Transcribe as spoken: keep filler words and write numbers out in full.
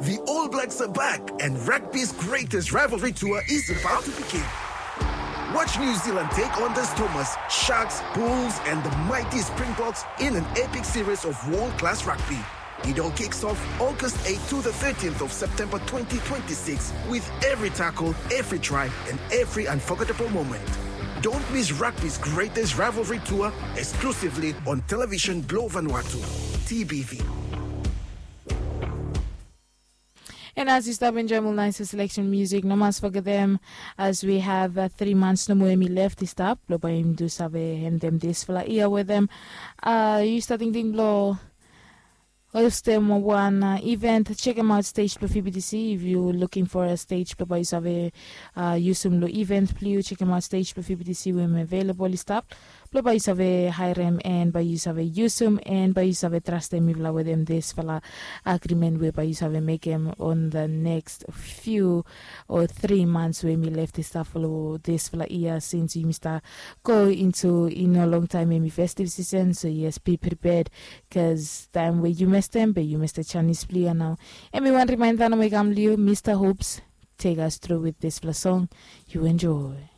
The All Blacks are back, and rugby's greatest rivalry tour is about to begin. Watch New Zealand take on the Stormers, Sharks, Bulls, and the mighty Springboks in an epic series of world class rugby. It all kicks off August eighth to the thirteenth of September twenty twenty-six, with every tackle, every try, and every unforgettable moment. Don't miss rugby's greatest rivalry tour, exclusively on Television Blue Vanuatu, T B V. And as you stop enjoy more nice selection music, no must forget them as we have uh, three months no more emi left this stop. Lo by him do save and them this fella here with them. Uh, you starting thing blow. Host them one uh, event. Check them out stage for F B T C. If you looking for a stage, lo by you save uh, use them lo event. Please check them out stage for F B T C. When available stop. Blo bae yu save haerem en bae yu save yusum en bae yu save trastem mifala wetem disfala agrimen we bae yu save mekem on the next few o tri mans we mi lef distap fo disfala yia sins yumi stap go intu i no longtaem hemi festiv sisen. So yes, be prepared, bikos taem we yu mestem be yu mestem janis blong yu ya nao. Hemi wan rimaenda nomo i kam long yu, Mista Hopes, take us through with disfala song. Yu enjoy.